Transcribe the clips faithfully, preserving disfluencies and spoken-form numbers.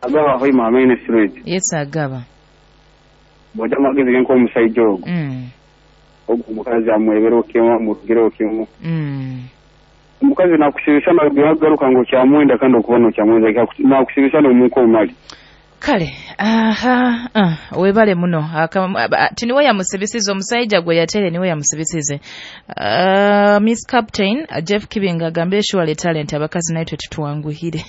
Agaba Hoima Main Street. Yes, Agaba. Bw'ojja amagezi ge nk'omusajja ogwo. Mm. Ogwo omukazi amwebera kimu, amurugire kimu. Mm. Omukazi nakusibisa nagaruka ngo kyamwenda kandi okuba nokyamwenda nakusibisa n'omunka omali. Kale, aha, uh, webale muno. Tiniwe yamusibisize omusajja gwe yatere niwe yamusibisize. Uh, Miss Captain uh, Jeff Kibinga agambye surely talent abakazi naitwe tutuwanguhire.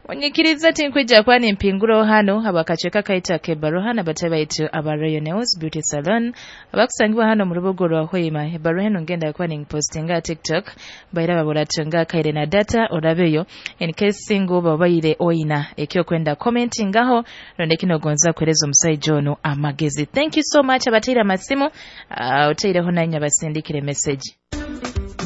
Onyikiriza tinkwija kwani mpinguro hano abakacheka kaita kebaro hano batabaitu aba Royal Nails Beauty Salon abakusangibwa hano mu rubuga rwa Hoima. Ebaro hano ngenda kwani postinga TikTok baira baburatunga kaire na data orabeyo in case single babaire oina ekyo kwenda commenting aho ronde kino gonza kwereza omusajja ono amagezi. Thank you so much abateira masimu uh, oteireho nanya basindikire message.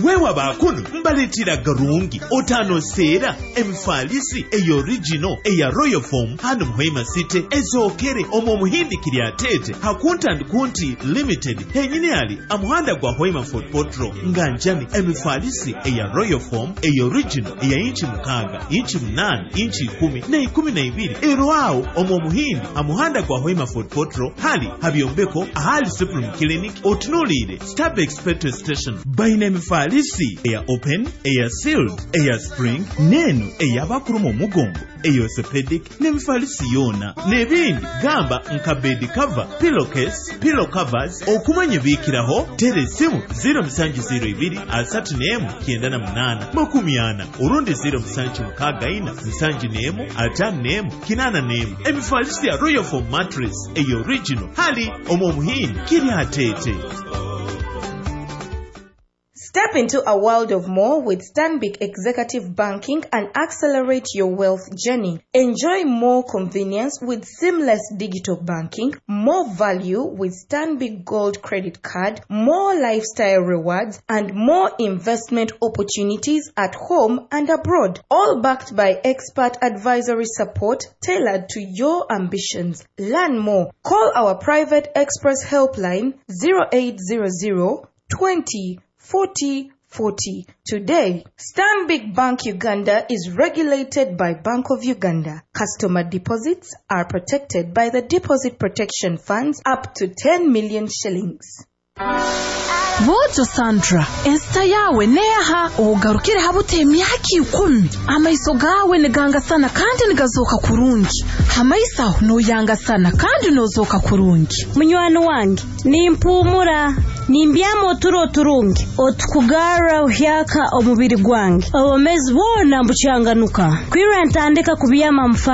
Weewa baakuno mbaleetera garungi otaano seera emifaalisi eya original eya Royal Foam hano Muhima City ezookere omwo omuhindi kiri ateete hakunta kunti Limited henyini ali amuhanda gwa Hoima Fort Portal nga njani emifaalisi eya Royal Foam eya original eya inchi mukaaga, inchi munaana, inchi ikumi na ikumi na ibiri erwawo omwo omuhindi amuhanda gwa Hoima Fort Portal hali habyombeko ahali Supreme Clinic otunuulire Stabex petrol station. Bayina emifaalisi eya open, eya sealed, eya spring n'eno ey'abakuluma omugongo eya orthopedic n'emifaalisi yoona n'ebindi gamba nka bed cover, pillowcase, pillow covers. Okumanya ebiikiraho tera essimu zero musanju zero ibiri asatu n'emu kyenda na munaana makumi ana olundi zero musanju mukaaga ina nsanju n'emu ataano n'emu kinaana n'emu. Emifaalisi ya Royal Foam mattress eya original hali omwo omuhindi kiri ateete. Step into a world of more with Stanbic Executive Banking and accelerate your wealth journey. Enjoy more convenience with seamless digital banking, more value with Stanbic Gold Credit Card, more lifestyle rewards, and more investment opportunities at home and abroad. All backed by expert advisory support tailored to your ambitions. Learn more. Call our private express helpline zero eight zero zero twenty forty forty today. Stanbic Bank Uganda is regulated by Bank of Uganda. Customer deposits are protected by the Deposit Protection Funds up to ten million shillings. Bwojo Sandra, ensita yawe neha ogarukire habute emyaka ikumi amaiso gawe nigangasana kandi nigazoka kurungi hamaiso aho noyangasana kandi nozoka kurungi. Munywani wange, nimpumura nimbyama oturo turungi otukugarra ohyaka omubiri gwange obomezi bwona mbucyanganuka kwirra ntandika kubyama.